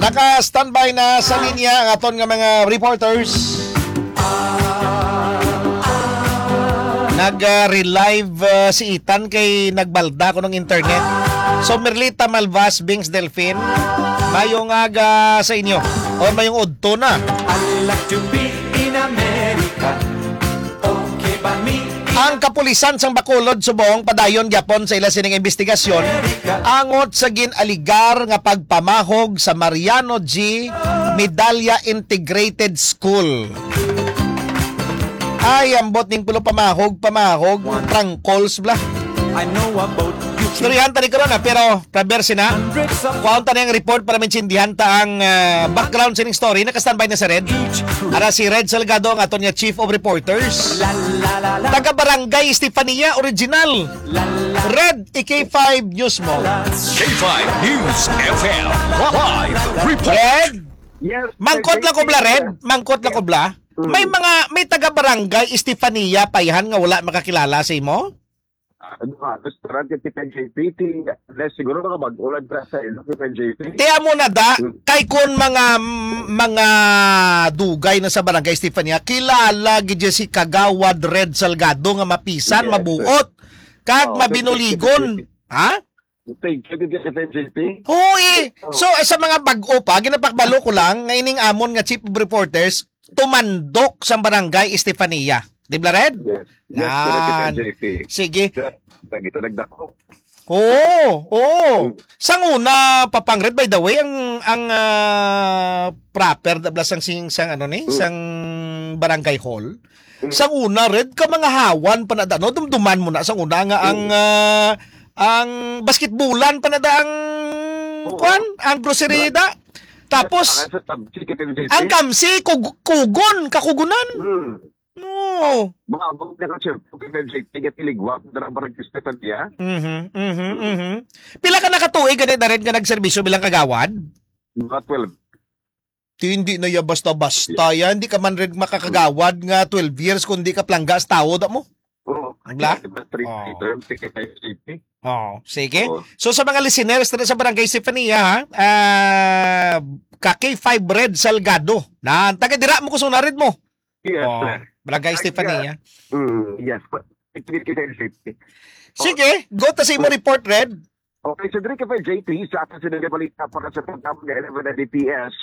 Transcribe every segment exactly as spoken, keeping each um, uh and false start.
Naka-standby na sa linya ang aton nga mga reporters. Nag-relive, uh, si Ethan kay nagbalda ko ng internet. So, Merlita Malvas, Bings Delfin, mayong aga sa inyo. O mayong udto na. I like to be in America. Okay ba me? Ang kapulisan sang Bacolod subong padayon gyapon sa ila sining investigasyon angot sa gin-aligar nga pagpamahog sa Mariano G Medalla Integrated School. Ay, ambot ning pulo pamahog, pamahog, trangkols bla. I know about you. Istoryahan ta ni karon, ah, pero Praber sina. Kuhaon ta na yung report para maintindihan ta ang, ah, background sining story. Naka-standby na si Red. Ara si Red Salgado, ang aton nga Chief of Reporters. Taga Barangay Estefania, original. Red, i-K five News mo. K five News F M, live report. Red, Yes, mangkot lang ko bla, Red. Mangkot lang ko bla. Mm. May mga, may taga Barangay Estefania pa ihan nga wala makakilala sa imo? Ah, ano nga, restaurant yung Tipen J P T, unless siguro mga bag-o lang dira sa ilo, Tipen J P. Kaya mo na da, Mm. kay kun mga, mga dugay na sa Barangay Estefania, kilala gid si Kagawad Red Salgado nga mapisan, Yes, sir. mabuot, kag Oo, mabinuligon. Tipen J P. Ha? Thank you, Tipen J P. Oo, eh. Oh. So, eh, sa mga bag-o pa, ginapakbalo ko lang nga ining amon nga chief of reporters, tumandok sa Barangay Estefania. Di ba, Red? Yes. Yes, Yan. J P. Sige. Sir, lagi to nagdako. Oo, oo. Mm. Sang una, Papang Red, by the way, ang, ang, ah, proper, dabla sang sing, sang ano ni, Mm. sang barangay hall. Mm. Sang una, Red, ka mga hawan pa na da, no? Dumduman mo na, sang una nga ang, Mm. ah, ang basketbulan pa na da ang, Oo. kwan, ang grocery Ba- da. Tapos, Ang sa tab-, si Tipen J P. ang kamsi, kug-, kugon, kakugunan. Mm. No. Mga abot na ka, sir. Tipen J P, tiga Tiligwa, dara barangay Estefania. Mhm, mhm, Mm. mhm. Pila ka nakatuig gani na rin nga nagserbisyo bilang kagawad? Mga twelve. Ti, hindi na ya basta-basta ya. Hindi ka man rin makakagawad nga twelve years kung di ka plangga sa tao, da mo. Oo. Wala? Diba, three Oh. term, ticket I C P. Oh, sige. Oo. So, sa mga listeners dito sa Barangay Estefania, ha, ah, ka K five Red Salgado. Na, taga dira mo, kusunod mo. Yes, Oh, sir. Barangay Ay, Estefania. yeah. Mm, yes. Ticket I C P. Sige, go ta sa imo report, Red. Okay, so diri ka pa, J P, sa aton sini nga balita para sa programa nga eleven na D P S.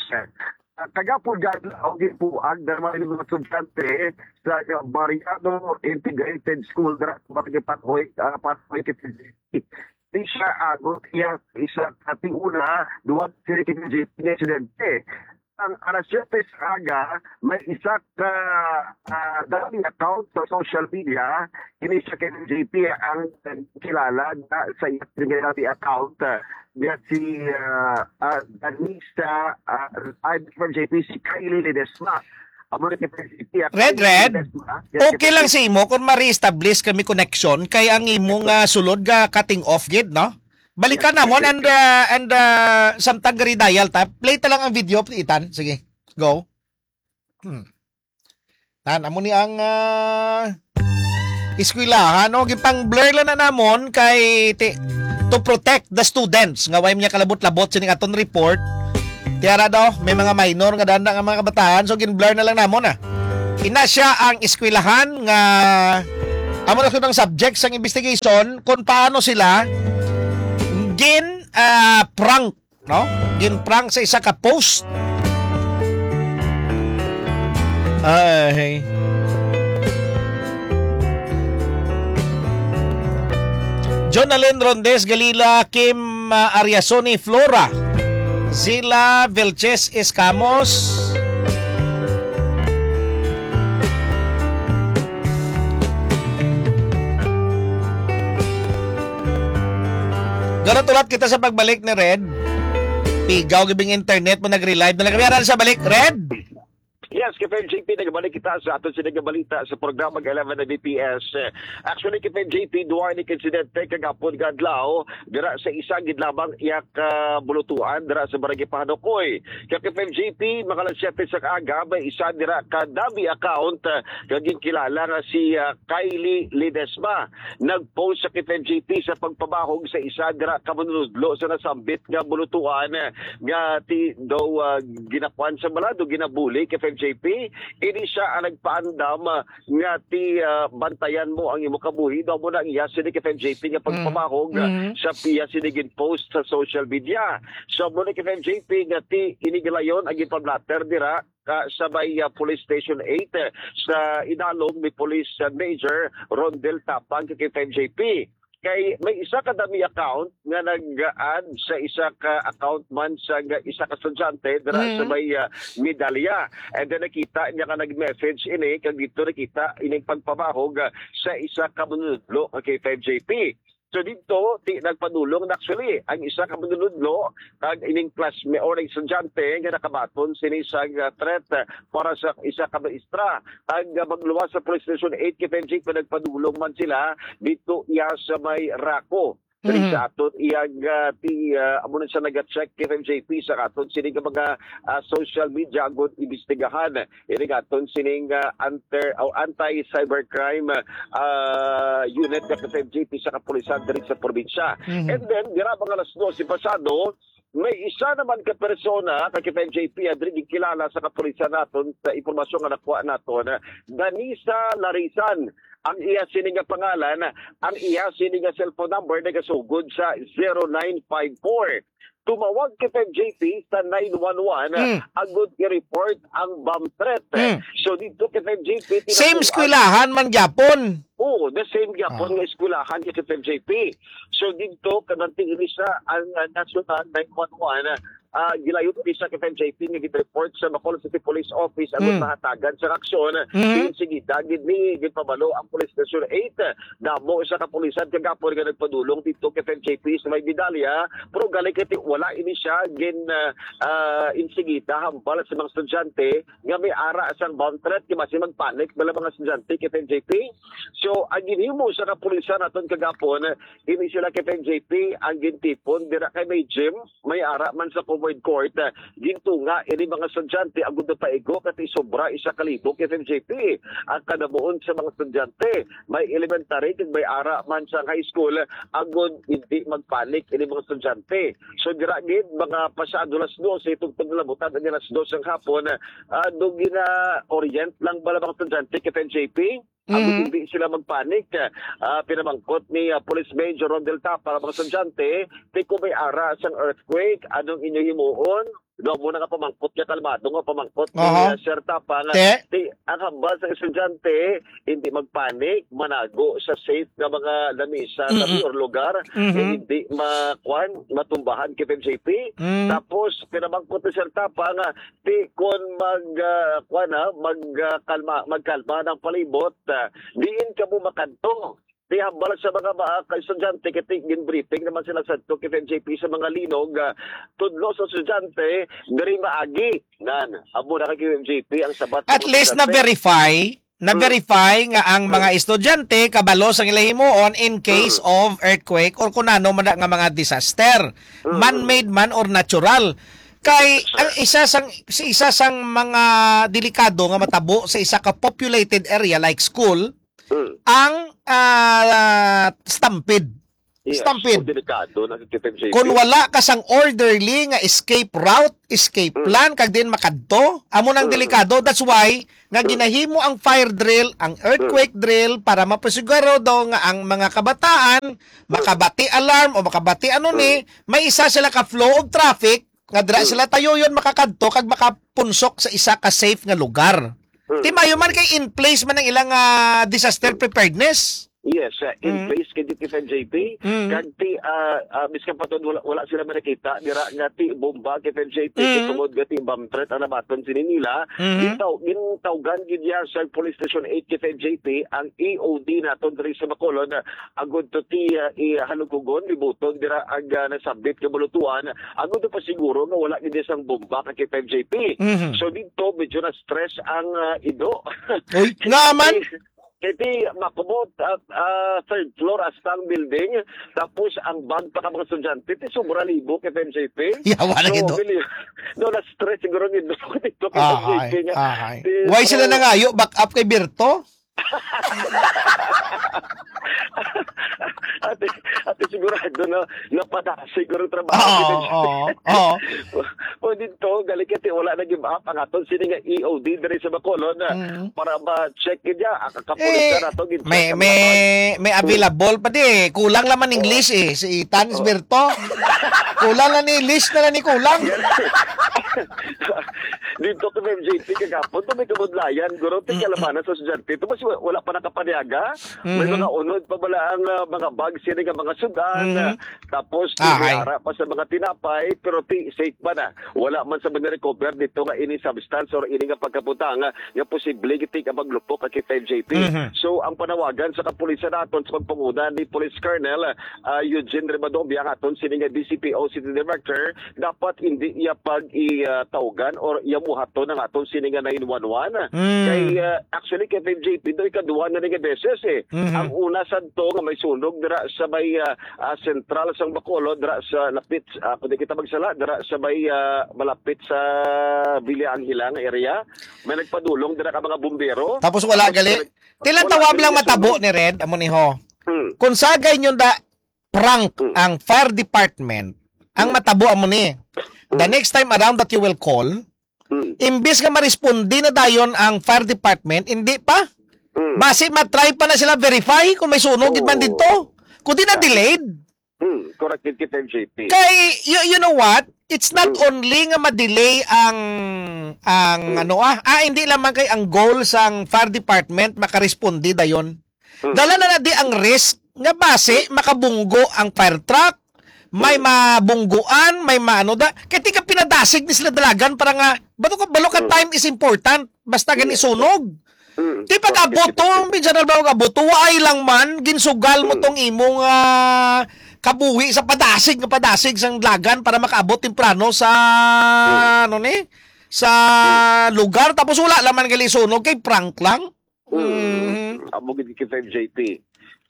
Ah, kagapon, gad-, ang ginbuag na mga mga estudyante sa Mariano Integrated School, dira sa Barangay Pathoy, ah, Pathoy, Quezon City. Di siya agot iya isa ka tiuna, duwa sila kay J P nga estudyante. Ang alas siyete sa aga, may isa ka, ah, dummy account sa social media. Kini siya kay J P ang kilala na sa iyang dummy account, ah, niya si, ah, ah, Danisa, ah, ay, from J P, si Kylie Ledesma. Amo na kay J P, ah, Red, Kylie Red. Ledesma. Yes, Okay yes, lang yes. sa imo kung ma-reestablish kami connection kay ang imong, ah, sulod nga cutting off gid, no? Balikan Yes, namon yes, and, yes. uh, and, uh, samtang gari dial ta. Play ta lang ang video, Ethan. Sige, go. Hmm. Tan, amo ni ang, uh, eskwelahan, no? Gipang-blur lang na namon kay ti-, to protect the students nga way niya kalabot-labot sining aton report. Tiara daw, may mga minor nga danda nga mga kabataan, so gin-blur na lang namon, ah. Ina siya ang eskwelahan nga amo na ang subject sang investigation kung paano sila gin, ah, prank, no? Gin prank sa isa ka post. Ay. Jonalyn Rondes Galila, Kim, ah, Ariasoni Flora, Zila Vilches Escamos. Ganat ulat kita sa pagbalik ni Red. Pigaw gibing internet mo, nag-relive na lang kami. Aran sa balik, Red? Yes, K F M J P, nagbalik kita sa aton sini nga balita sa programa nga eleven na B P S. Actually, K F M J P, duwa ni insidente kagapon nga adlaw dira sa isa gid lamang iya ka bulutuan dira sa Barangay Pahanukoy. Kay K F M J P, mga alas siyete sa aga, may isa dira ka dummy account, ah, nga ginkilala nga si, ah, Kylie Ledesma. Nag-post sa K F M J P sa pagpabahog sa isa dira ka manunudlo sa nasambit nga bulutuan, ah, nga ti daw, ah, ginakuan sa balado, ginabuli, K F M J P. Ini siya ang nagpaandam, ah, nga ti, ah, bantayan mo ang imo kabuhi. Daw mo na ang iya sini, K F M J P, nga pagpabahog, ah, Mhm. sa piya sini gin-post sa social media. So, mo na, K F M J P, nga ti ini gilayon ang ginpablatter dira ka sa may, ah, Police Station eight, eh, sa idalom ni Police, ah, Major Rondel Tapang kay K F M J P. Kay may isa ka dummy account nga nag-add sa isa ka account man sa nga isa ka estudyante dira sa Mm. may, ah, Medalya. And then nakita niya nga nag-message ini, kag dito nakita ining pagpabahog, ah, sa isa ka manunudlo kay K F M J P. So dito, ti nagpadulong na actually ang isa ka manunudlo kag ining classmate or estudyante nga nakabaton sini sa, ah, threat, ah, para sa isa ka maestra. Ang, ah, magluwas sa Police Station eight K F M J kung nagpadulong man sila dito iya sa may Raco. Diri Mhm. sa aton iyang, ah, ti, ah, amo na siya naga-check K F M J P sa aton sini nga mga, ah, social media agud imbestigahan. Ini nga aton sining, ah, anter-, o anti-cybercrime, ah, unit nga K F M J P sa kapulisan diri sa probinsya. Mhm. And then, dira mga alas dose pasado, may isa naman ka persona ka K F M J P, ah, diri gikilala sa kapulisan naton sa impormasyon nga nakuha naton, ah, Danisa Larisan ang iya sini nga pangalan, ang iya sini nga cellphone number nagasugod sa zero nine five four. Tumawag K F M J P sa nine one one Mm. agud i-report ang bomb threat. Mm. So dito K F M J P Same tinapuan. eskwelahan man gyapon. Oo, the same gyapon Ah. nga eskwelahan kay K F M J P. So dito kanang tingin siya ang, ah, National nine one one, ah, gilayon ni sa K F M J P nga gid-report sa Bacolod City Police Office ang Mm. mahatagan sa aksyon. Mm. Sige, dagid ni ginpabalo ang Police Station eight. Damo sa kapulisan kagapon nga nagpadulong dito kay F M J P sa may Medalya, pero gali kay ti-, wala ini siya gin, ah, ah, insigida hambal sa mga estudyante nga may ara sang bomb threat, kay basi magpanic bala mga estudyante kay F M J P. So, ang ginhimo sa kapulisan naton kagapon, ini sila kay F M J P ang gintipon dira kay may gym, may ara man sa covered court, ah, gintunga ini mga estudyante agud paigo kay ti sobra isa ka libo kay F M J P ang kadamuon sa mga estudyante. May elementary kag may ara man sa high school, agud hindi magpanic ini mga estudyante. So dira gid mga pasado las dose, tungtod na labutan ang alas dos ang hapon, ah, do gina-orient lang bala mga estudyante kay F M J P. Agud Mhm. hindi sila magpanic. Ah, pinamangkot ni, ah, Police Major Rondel Tapang ang mga estudyante, ti kung may ara sang earthquake, anong inyo himuon? No, muna nga pamangkot niya, kalmado nga pamangkot ni, Aha. ah, Sir Tapang. Te? Ti, ang hambal sa estudyante, hindi magpanic, manago sa safe nga mga lamisa, Mm-mm. tabi or lugar, Mhm. eh, hindi ma-, kwan, matumbahan kay F M J P. Mm. Tapos, pinamangkot ni Sir Tapang, ah, ti, kung mag, ah, kwan, ah, mag, ah, kalma, magkalma ng palibot, ah, diin kamo makadto? Ti hambal sa mga, ah, ka-estudyante, kay ti, gin-briefing naman sila sa to kay F M J P sa mga linog, ah, tudlo sa estudyante, diri maagi. Nan, amo na kay F M J P ang sabat sa At mga least estudyante. na-verify, Mm. na-verify nga ang Mm. mga estudyante kabalo sang ila himuon in case Mm. of earthquake or kung ano man na nga mga disaster, Mm. man-made man or natural. Kay Yes, sir. ang isa sang, si isa sang mga delikado nga matabo sa isa ka populated area like school, Mm. ang, ah, stampede. Yes, Stampede. so delikado na si F M J P. Kung wala ka sang orderly nga escape route, escape Mm. plan, kag din makadto, amo nang Mm. delikado. That's why nga Mm. ginahimo ang fire drill, ang earthquake Mm. drill, para mapasigurado nga ang mga kabataan Mm. makabati alarm o makabati ano ni, Mm. may isa sila ka flow of traffic nga dira Mm. sila tayoyon makakadto kag makapunsok sa isa ka safe nga lugar. Mm. Ti mayo man kay in place man ang ilang, ah, disaster preparedness. Yes, uh, in Mm. place kay K five J P. Mm. Kag ti, ah, ah, miskan pa to, wala, wala sila manakita dira nga ti bomba kay K five J P, Mm. kay tungod nga ti bomb threat ang nabaton sini nila. Mm. Gintaw-, gintawgan gid niya sa Police Station eight kay K five J P ang E O D naton diri sa Bacolod, ah, agud to ti, ah, ihalungkugon, libutog dira ang, ah, nasabit nga bulutuan, agud to pasiguro nga wala gid sang bomba kay K five J P. Mhm. So dito medyo na-stress ang, ah, ido. Uy, nga man? Kay ti makubot, ah, ah, third floor hasta ang building, tapos ang bag pa ka mga estudyante, ti sobra libo kay K five J P. Yawa na So, gid, oh. bili-, no, na-stress siguro ni Doc dito kay Ahay, K five J P nga. ahay. Ti Why sila so nangayo? Back up kay Berto? Ate, ate, sigurado na napadasig ko ng trabaho Oo, dito. oo, oo. O dito, galing kasi wala na give up ang aton sini nga E O D diri sa Bacolod na Mm. para ma-check niya, ang kapulisan Eh, nato, gid may, sa may, may available pa di eh. Kulang lang man English eh. Si Ethan, Oo. Isberto. Kulang na ni English na lang ni kulang. Dito ko sa M J T kagapon, to may kabudlayan, guro, ti Mm-mm. kalamanan sa estudyante. Ito, mas wa-, wala pa nakapaniaga. May Mhm. mga unod pa bala ang, ah, mga bag, sini nga mga sudan, Mhm. ah, tapos Ahay. may ara pa sa mga tinapay, pero ti, safe pa na. Wala man sa mga recover dito nga ini substance or ini nga pagkabutang, ah, nga posible giti nga maglupok ang K five J P. Mhm. So, ang panawagan sa kapulisan naton sa pagpanguna ni Police Colonel, ah, Eugene Ribadobia, ang aton sini nga D C P O City Director, dapat hindi iya pag i, ah, tawgan or iya buhaton ang aton sini nga nine one one. Mm. Kay, ah, actually, kay K five J P, do ikaduha na ni nga beses eh. Mhm. Ang una sadto nga may sunog dira sa may, ah, ah, sentral sang Bacolod, dira sa lapit, ah, kung di kita magsala, dira sa may, ah, malapit sa Villa Angela nga area. May nagpadulong dira ka mga bumbero. Tapos wala Tapos gali. nag-, Tilang wala tawag gali lang nga matabo sunog. ni Red, amo ni ho. Hmm. Kung sagay nyo da prank Hmm. ang fire department, ang Hmm. matabo amo ni. The Hmm. next time around that you will call, Hmm. imbis nga maresponde na dayon ang fire department, hindi pa. Hmm. Basi matry pa na sila verify kung may sunog gid man Oo. dito. Kung di na Right. delayed. Hmm, correct gid kita, M J P. Kay, you, you know what? It's not Hmm. only nga ma-delay ang, ang Hmm. ano, ah, ah, hindi lamang kay ang goal sang fire department makaresponde dayon. Hmm. Dala na na di ang risk nga basi makabunggo ang fire truck, may Hmm. mabungguan, may maano da. Kay tika pinadasig ni sila dalagan para nga, balo ka, balo ka Hmm. time is important. Basta gani Yes. sunog. Mm. Di pag-abot to, Bakit? Minsan na ba mag-abot to, waay lang man, ginsugal mo Mm. tong imong, ah, kabuhi sa padasig, nga padasig sang dalagan para makaabot temprano sa, Mm. ano ni, sa Mm. lugar. Tapos wala lang man gali sunog, kay prank lang. Mm. Mm. Amo gid kita, M J P.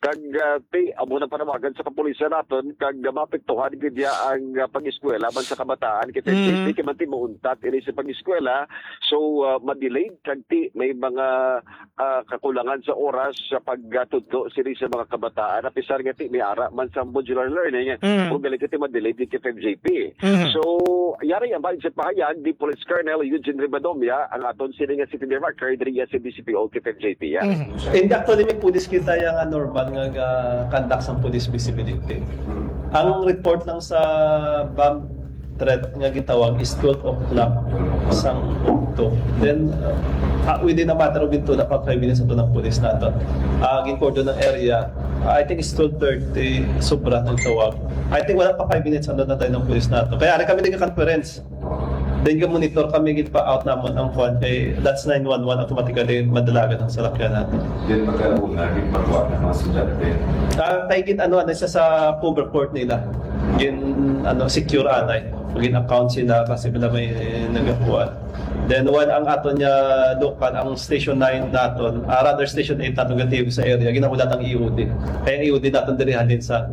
Kag, ah, ti, amo na panawagan sa kapulisan naton, kag, ah, maapektuhan gid niya ang, ah, pag-eskwela man sa kabataan. Kay Mm. P P K man ti mauntat ini sa pag-eskwela. So, ah, ma-delayed, kag ti, may mga, ah, kakulangan sa oras sa pagtudlo sini sa mga kabataan. Apisar nga ti, may ara man sa modular learning, Mm. kung galing ka ti ma-delayed ni K F J P. Mhm. So, yari ang bahin sa pahayag ni Police Colonel Eugene Ribadomia, ang aton sini nga city director diri sa D C P O K F J P, ya. Mhm. And actually, may pulis kita yang, ah, normal nga ga-conduct sang police visibility. Ang report lang sa bomb threat nga gitawag is twelve o'clock sang ukto. Then, uh, ah, within a matter of two na pa five minutes ato ng pulis nato. Ah, gin-cordon ang area. I think it's twelve thirty, sobra ng tawag. I think wala pa five minutes, ano na tayo ng pulis nato. Kaya rin kami nagka-conference. Then, ga-monitor kami, gid pa-out namon ang kwan. Kay that's nine one one, automatically madalagan ang salakyan nato. Then, magkauna, gid pagkuha ng mga estudyante. Ah, kay gid, ano, ano, isa sa cover court nila. Gin, ano, secure anay. Gin account sila kasi wala may nagakuha. Then, while ang aton niya local, ang Station nine naton, ah, rather Station eight naton, gatibo sa area, ginahulat ang E O D. Kaya ang E O D naton diri halin sa,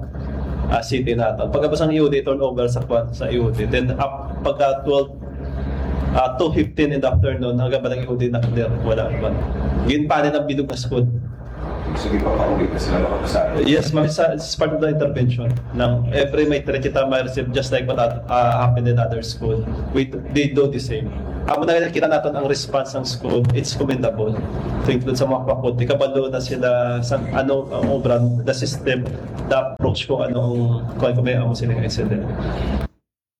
ah, city naton. Pagkabos ang E O D, turnover sa kwan, sa E O D. Then, up, pagka twelve, ah, two fifteen in the afternoon, ang gabal ang E O D na clear, wala man. Ginpanin ang bilog na school. Sige, papauwi na sila makapasado. Yes, ma'am, it's, it's part of the intervention. Nang every may threat kita ma-receive, just like what, uh, happened in other school. We, they do the same. Amo na nakita naton ang response ng school, it's commendable. To include sa mga faculty, kabalo na sila sa ano ang obra, the system, the approach kung ano ang, kung, kung may amo silang incident.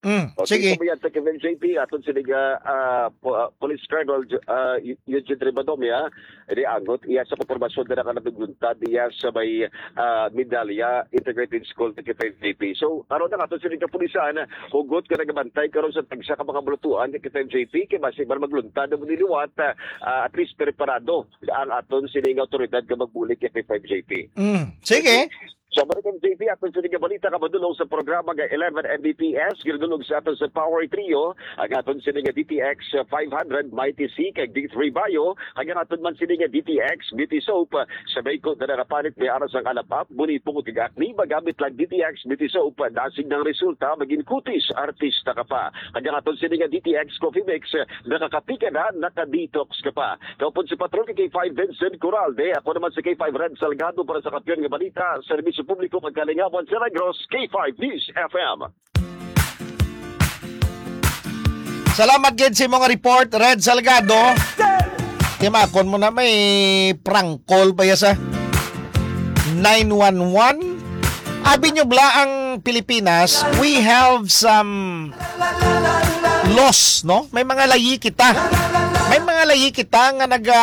Mm. O, Sige. Sa may Antique F M J P, aton sini nga, ah, po-, ah, Police Colonel Ju-, ah, Eu-, Eugene Ribadomia, ini angot iya sa impormasyon nga nakalanuglunta diya sa may, ah, Medalla Integrated School, Antique F M J P. So, aron ang aton sini kapulisan, hugot nga nagabantay karon sa tagsa ka mga bulutuan, Antique F M J P, kay basi man magluntad ang liwat, ah, ah, at least preparado ang aton sini nga awtoridad nga magbulig kay Antique F M J P. Mm, sige. Sa Balikan J P, aton sini nga balita nga madulong sa programa nga eleven M B P S, ginadulong sa aton sa Power Trio, ang aton sini nga D T X five hundred, Mighty C, kag D three Bio, kag ang aton man sini nga D T X Beauty Soap. Sa may ko na nakapalit may aras ang alapap, muni pungod kag acne, magamit lang D T X Beauty Soap, dasig ng resulta, maging kutis, artista ka pa. Kag ang aton sini nga D T X Coffee Mix, nakakapi ka na, nakadetox ka pa. Kaupod si Patrol K five Vincent Coralde, ako naman si K five Red Salgado para sa Kampiyon nga Balita, Serbisyo Publiko kag Kalingawan sa Negros, K five News F M. Salamat gid sa imong report, Red Salgado. Timakon mo na, may prank call pa ya sa nine one one. Abi nyo bala ang Pilipinas, we have some laws, no? May mga layi kita. May mga layi kita nga naga,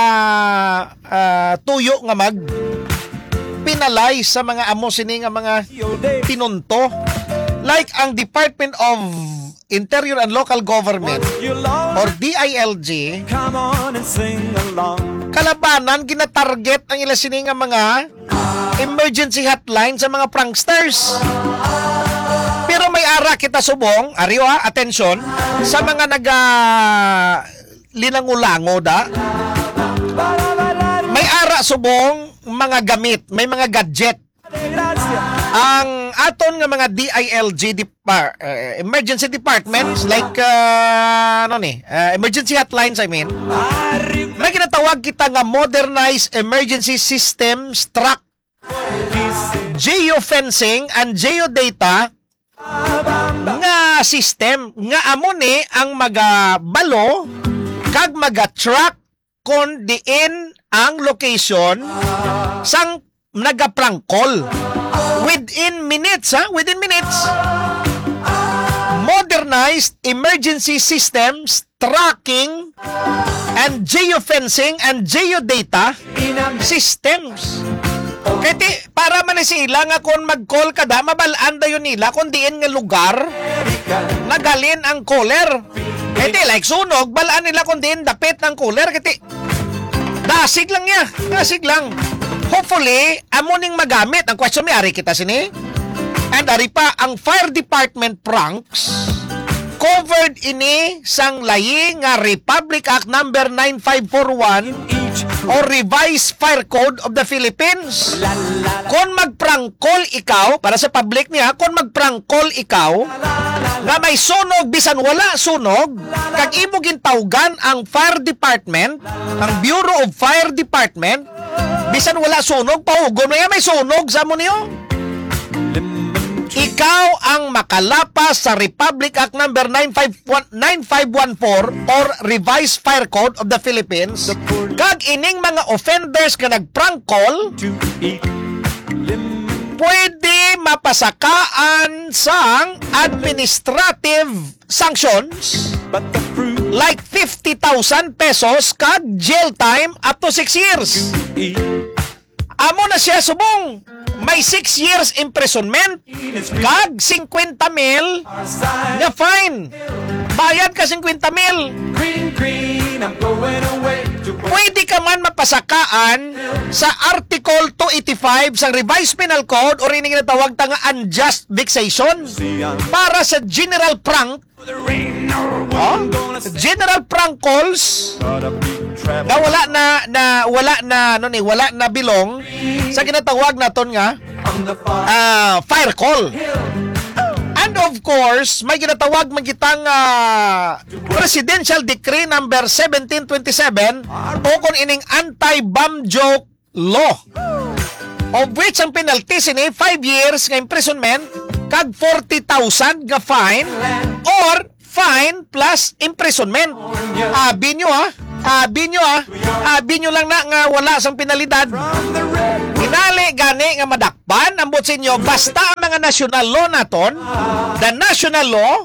ah, tuyo nga mag penalize sa mga amo sini nga mga pinunto. Like ang Department of Interior and Local Government or D I L G, kalabanan ginatarget ang ila sini nga mga emergency hotline sa mga pranksters. Pero may ara kita subong, ariwa, atensyon, sa mga naga linangulango da. May ara subong mga gamit, may mga gadget. Ang aton nga mga D I L G depar-, eh, emergency departments like, ah, ano ni, ah, emergency hotlines, I mean, may ginatawag kita nga modernized emergency systems track, geofencing and geodata nga system nga amo ni ang magabalo kag magatrack kon diin ang location sang nagaprangkol. Within minutes, ha? Within minutes. Modernized emergency systems, tracking, and geofencing and geodata systems. Kay ti, para man ni sila nga kon mag-call ka da, mabal-an dayon nila kung diin nga lugar naghalin ang caller. Kay ti, like sunog, bal-an nila kung diin dapit ang caller. Kay ti, dasig lang niya. Dasig lang. Hopefully, amo ning magamit. Ang question, may ari kita sini? And ari pa, ang fire department pranks, covered ini sang layi nga Republic Act number nine five four one or Revised Fire Code of the Philippines. Kon magprangkol ikaw, para sa public niya, kon magprangkol ikaw nga may sunog, bisan wala sunog, kag imo gintawgan ang fire department, ang Bureau of Fire Department, bisan wala sunog, pahugon mo, "Ya, may sunog," sa mo niyo. Ikaw ang makalapas sa Republic Act number nine five one, nine five one four or Revised Fire Code of the Philippines, kag ining mga offenders nga nagprangkol, pwede mapasakaan sang administrative sanctions like fifty thousand pesos kag jail time up to six years. Amo na siya subong. May six years imprisonment kag singkwenta mil nga fine. Bayad ka singkwenta mil. Pwede ka man mapasakaan sa Article two eighty-five sa Revised Penal Code, or ini ginatawag ta nga unjust vexation, para sa general prank. Oh? General prank calls nga wala na, na, wala na, ano ni, wala na belong sa ginatawag naton nga, ah, fire call. And of course, may ginatawag man kita nga Presidential Decree number seventeen twenty-seven, o kung ining anti-bomb joke law, of which ang penalty sini five years nga imprisonment kag forty thousand nga fine or fine plus imprisonment. Abi nyo, ha? Abi nyo, ha? Abi nyo lang na nga wala sang penalidad. Hinali gani nga madakpan ang buot sa inyo, basta ang mga national law naton, the national law,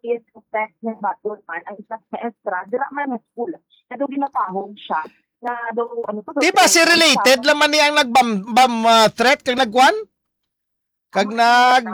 is suspect nga baton man ang isa ka maestra, dira man sa school. Na daw ginapahog siya. Na daw, ano to, Di ba si related lang man niya ang nag-bomb bomb, ah, threat kag nagkuan? Kag nag